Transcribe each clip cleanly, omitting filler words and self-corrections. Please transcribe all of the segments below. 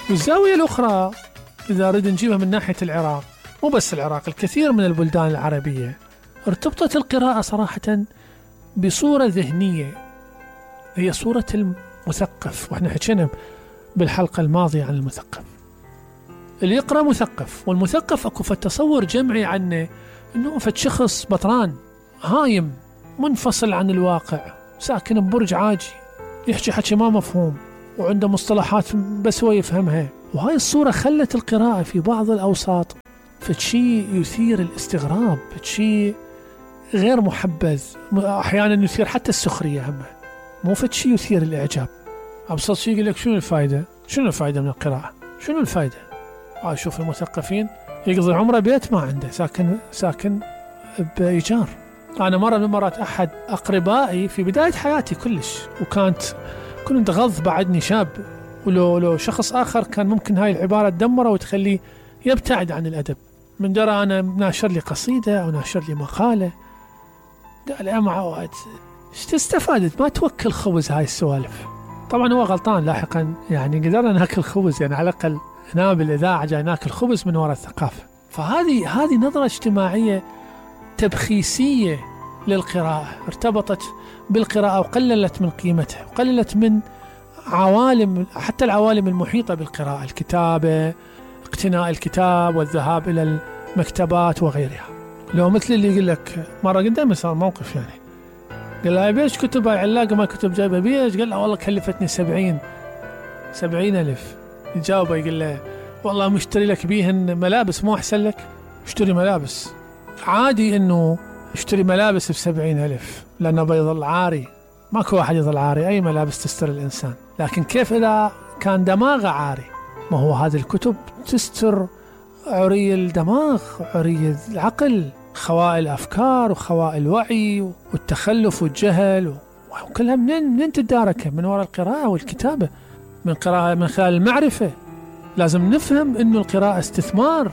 والزاوية الأخرى إذا أريد نجيبها من ناحية العراق، مو بس العراق، الكثير من البلدان العربية ارتبطت القراءة صراحة بصورة ذهنية، هي صورة المثقف. وإحنا حكينا بالحلقة الماضية عن المثقف. اللي يقرأ مثقف، والمثقف أكو فتصور جمعي عنه أنه فد شخص بطران هايم منفصل عن الواقع، ساكن ببرج عاجي، يحكي حكي ما مفهوم، وعنده مصطلحات بس هو يفهمها. وهاي الصورة خلت القراءة في بعض الأوساط فشي يثير الاستغراب، فشي غير محبذ، أحيانا يثير حتى السخرية، هم مو فشي يثير الإعجاب. أبسط شيء يقول لك شنو الفائدة؟ شنو الفائدة من القراءة؟ شنو الفائدة؟ شوف المثقفين يقضي عمره بيت ما عنده، ساكن بإيجار. أنا مرة من المرات أحد أقربائي في بداية حياتي كلش، كنت غض بعدني شاب، ولو شخص آخر كان ممكن هاي العبارة تدمره وتخليه يبتعد عن الأدب. من درى أنا ناشر لي قصيدة أو ناشر لي مقالة، قال يا معود ايش تستفادت؟ ما توكل خبز هاي السوالف. طبعا هو غلطان لاحقا، يعني قدرنا ناكل خبز، يعني على الأقل هنا بالإذاعة جاي ناكل خبز من وراء الثقافة. فهذه نظرة اجتماعية تبخيسية للقراءة، ارتبطت بالقراءة وقللت من قيمتها، وقللت من عوالم، حتى العوالم المحيطة بالقراءة، الكتابة، اقتناء الكتاب والذهاب إلى المكتبات وغيرها. لو مثل اللي يقول لك مرة قدامي صار موقف، يعني قال لها بيش كتب هاي علاقة ما كتب جايبها بيش؟ قال له والله كلفتني 70,000. يجاوبه يقول له والله مشتري لك بيهن ملابس، مو أحسن لك؟ اشتري ملابس، عادي إنه اشتري ملابس ب70,000 لأنه بيظل عاري، ماكو واحد يظل عاري، أي ملابس تستر الإنسان. لكن كيف إذا كان دماغه عاري؟ ما هو هذه الكتب تستر عري الدماغ، عري العقل، خواء الأفكار وخواء الوعي والتخلف والجهل، وكلها منين تداركها؟ من وراء القراءة والكتابة، من خلال المعرفة. لازم نفهم إنه القراءة استثمار،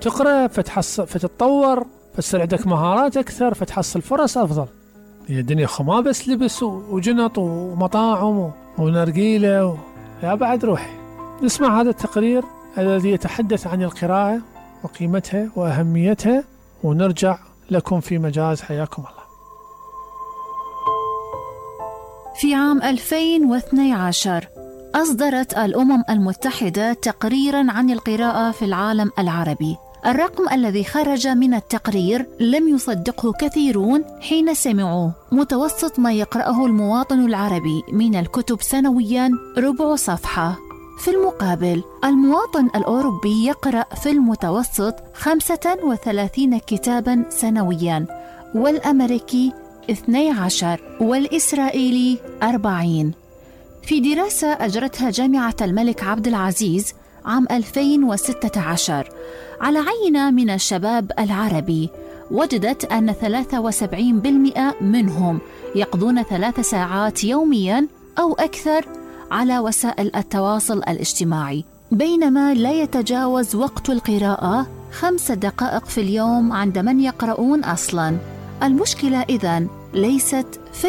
تقرأ فتتطور، فتصير عندك مهارات أكثر، فتحصل فرص أفضل. هي الدنيا ما بس لبس وجنط ومطاعم ونرجيلة يا بعد روحي. نسمع هذا التقرير الذي يتحدث عن القراءة وقيمتها وأهميتها، ونرجع لكم في مجاز. حياكم الله. في عام 2012 أصدرت الأمم المتحدة تقريراً عن القراءة في العالم العربي. الرقم الذي خرج من التقرير لم يصدقه كثيرون حين سمعوه. متوسط ما يقرأه المواطن العربي من الكتب سنوياً 4 صفحة. في المقابل المواطن الأوروبي يقرأ في المتوسط 35 كتاباً سنوياً، والأمريكي 12، والإسرائيلي 40. في دراسة أجرتها جامعة الملك عبد العزيز عام 2016 على عينة من الشباب العربي، وجدت أن 73% منهم يقضون 3 ساعات يومياً أو أكثر على وسائل التواصل الاجتماعي، بينما لا يتجاوز وقت القراءة 5 دقائق في اليوم عند من يقرؤون أصلاً. المشكلة إذن ليست في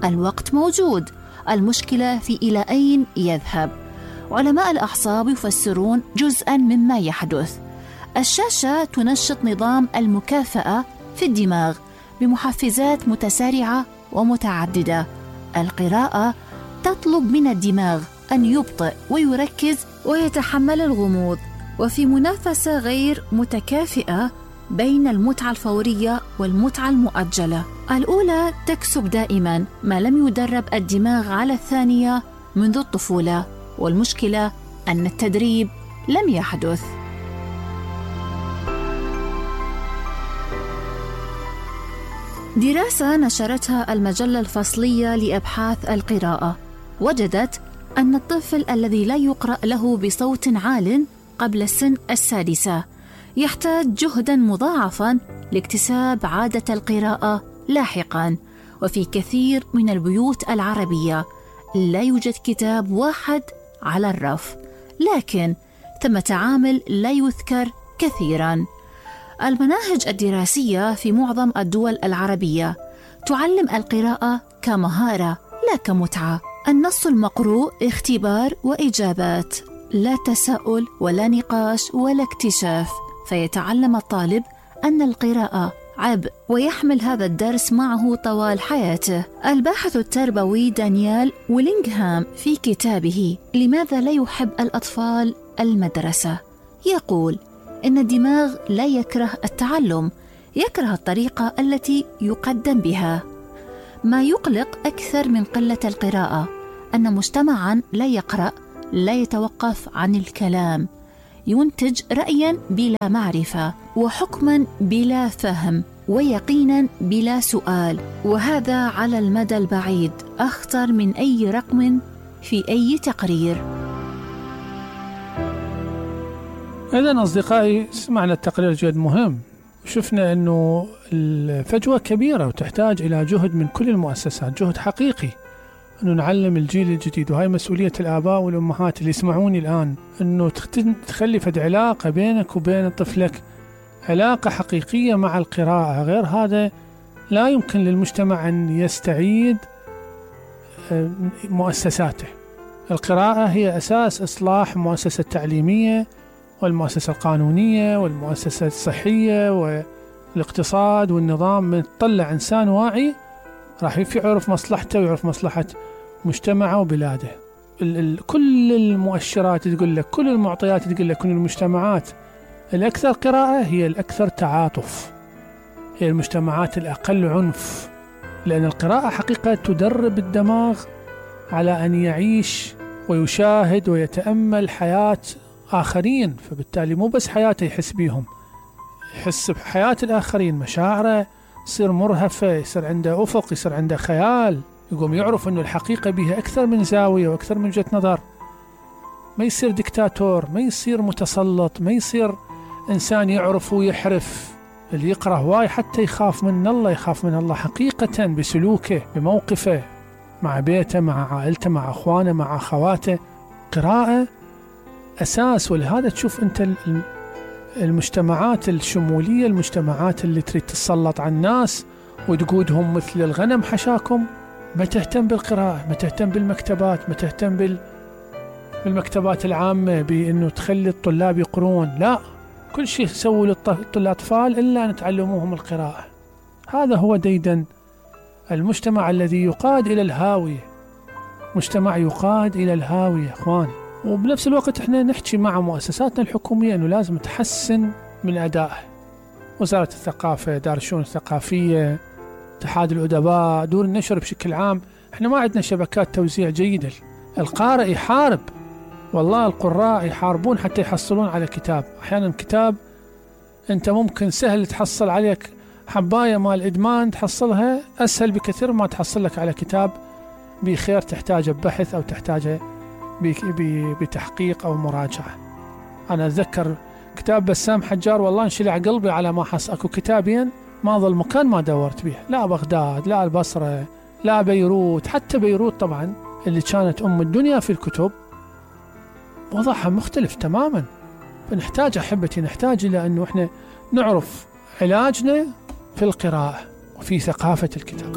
الوقت موجود، المشكلة في إلى أين يذهب. علماء الأعصاب يفسرون جزءاً مما يحدث. الشاشة تنشط نظام المكافأة في الدماغ بمحفزات متسارعة ومتعددة. القراءة تطلب من الدماغ أن يبطئ ويركز ويتحمل الغموض، وفي منافسة غير متكافئة بين المتعة الفورية والمتعة المؤجلة. الأولى تكسب دائما ما لم يدرب الدماغ على الثانية منذ الطفولة، والمشكلة أن التدريب لم يحدث. دراسة نشرتها المجلة الفصلية لأبحاث القراءة وجدت أن الطفل الذي لا يقرأ له بصوت عال قبل السن 6 يحتاج جهداً مضاعفاً لاكتساب عادة القراءة لاحقاً. وفي كثير من البيوت العربية لا يوجد كتاب واحد على الرف، لكن ثمة عامل لا يذكر كثيراً. المناهج الدراسية في معظم الدول العربية تعلم القراءة كمهارة لا كمتعة. النص المقروء اختبار وإجابات، لا تساؤل ولا نقاش ولا اكتشاف، فيتعلم الطالب أن القراءة عبء ويحمل هذا الدرس معه طوال حياته. الباحث التربوي دانيال ويلينغهام في كتابه لماذا لا يحب الأطفال المدرسة يقول إن الدماغ لا يكره التعلم، يكره الطريقة التي يقدم بها. ما يقلق أكثر من قلة القراءة أن مجتمعاً لا يقرأ لا يتوقف عن الكلام، ينتج رأياً بلا معرفة، وحكماً بلا فهم، ويقيناً بلا سؤال، وهذا على المدى البعيد أخطر من أي رقم في أي تقرير. إذن أصدقائي، سمعنا التقرير جد مهم، وشفنا أنه الفجوة كبيرة وتحتاج إلى جهد من كل المؤسسات، جهد حقيقي أنه نعلم الجيل الجديد، وهي مسؤولية الآباء والأمهات اللي يسمعوني الآن، أنه تخلي فد علاقة بينك وبين طفلك، علاقة حقيقية مع القراءة. غير هذا لا يمكن للمجتمع أن يستعيد مؤسساته. القراءة هي أساس إصلاح المؤسسة التعليمية والمؤسسة القانونية والمؤسسة الصحية والاقتصاد والنظام. من تطلع إنسان واعي راح يعرف مصلحته ويعرف مصلحة مجتمعه وبلاده. كل المؤشرات تقول لك، كل المعطيات تقول لك أن المجتمعات الأكثر قراءة هي الأكثر تعاطف، هي المجتمعات الأقل عنف، لأن القراءة حقيقة تدرب الدماغ على أن يعيش ويشاهد ويتأمل حياة آخرين، فبالتالي مو بس حياته يحس بيهم، يحس بحياة الآخرين، مشاعره يصير مرهفة، يصير عنده أفق، يصير عنده خيال، يقوم يعرف أنه الحقيقة بها أكثر من زاوية وأكثر من وجهة نظر. ما يصير دكتاتور، ما يصير متسلط، ما يصير إنسان يعرف ويحرف. اللي يقرأ هواي حتى يخاف من الله، يخاف من الله حقيقة بسلوكه، بموقفه مع بيته، مع عائلته، مع أخوانه، مع أخواته. قراءة أساس. ولهذا تشوف أنت المجتمعات الشمولية، المجتمعات اللي تريد تسلط على الناس وتقودهم مثل الغنم حشاكم، ما تهتم بالقراءة، ما تهتم بالمكتبات، ما تهتم بالمكتبات العامة بأنه تخلي الطلاب يقرون، لا، كل شيء سووا للأطفال إلا أن تعلموهم القراءة. هذا هو ديدن المجتمع الذي يقاد إلى الهاوية، مجتمع يقاد إلى الهاوية أخوان. وبنفس الوقت احنا نحكي مع مؤسساتنا الحكومية أنه لازم تحسن من أدائه. وزارة الثقافة، دار الشؤون الثقافية، اتحاد الأدباء، دور النشر بشكل عام. احنا ما عندنا شبكات توزيع جيدة. القارئ يحارب، والله القراء يحاربون حتى يحصلون على كتاب. أحيانا كتاب أنت ممكن سهل تحصل عليك حباية مال إدمان، تحصلها أسهل بكثير ما تحصل لك على كتاب بخير تحتاجه ببحث أو تحتاجه بتحقيق أو مراجعة. أنا أتذكر كتاب بسام حجار، والله انشلع قلبي على ما حصل. أكو كتابين ما ظل مكان ما دورت به، لا بغداد، لا البصرة، لا بيروت. حتى بيروت طبعا اللي كانت أم الدنيا في الكتب وضعها مختلف تماما. فنحتاج أحبتي، نحتاج إلى أنه إحنا نعرف علاجنا في القراءة وفي ثقافة الكتاب.